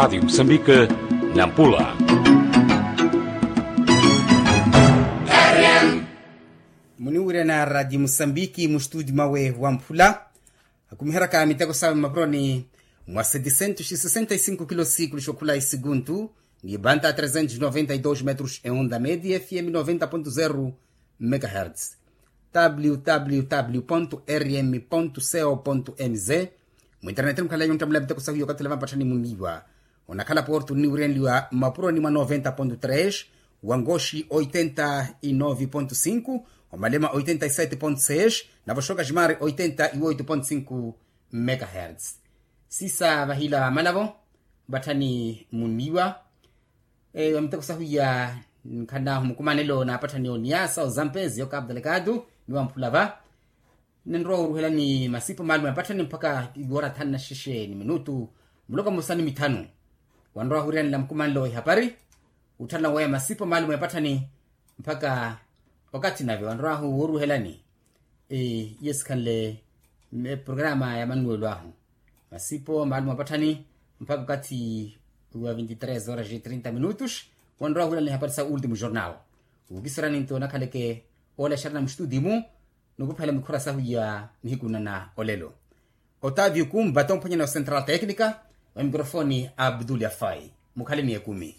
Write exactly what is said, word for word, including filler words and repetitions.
Radi musambika, nampula. Muniwirya na radi musambiki mustudi mwawe wa mphula, akumiheryaka miteko sawe mmapuroni mwa setisentus sesenta e sinku kilo sikulu xokhula esikuntu, ni banta tresentus noventa e dos metros e onda media fm noventa pontu zero megahertz. Www rm co mz. Mwinternet mukhalanyu nttamula miteko sahu yokathela vampatthani muniiwa. Onakhala portu nniwirenliwa mmapuroni mwa noventa pontu tres, wangoxi oitenta e nove pontu sinku, omalema oitenta e sete pontu seis, navo xoka ximari oitenta e oito pontu sinku megahertz. Sisa vahila malavo mpatthani muniiwa. Eyo miteko sahu ya nkhan'ahu mukumanelo na apatthani oniasa ozampezi okapu delegado ni wamphula va. Ninrowa oruhelani masipo maalumu ya apatthani mpaka iwora thanu na xexe ni minutu, muloka mmosa ni mithanu. Wanrowa ohurihanela mukumanelo ihapari, utthalana weya masipo maalumu ya apatthani mpaka okathi nave wanrowahu woruhelani. Iye sikhanle programa ya manuwelo ahu, masipo maalumu apatthani mpaka okathi wa vinti tres horas e trinta minutos. Wanrowa ohurihanela ihapari sa ultimo jornal, wukiserani nto nakhaleke oolexerana mustudi mu, nukuphela mikhura sahu ya nihiku nana olelo. Otavio kumba tomphwanyana wa central tecnica, wa mikrofoni abdul yafai. Mukhale ni ekumi.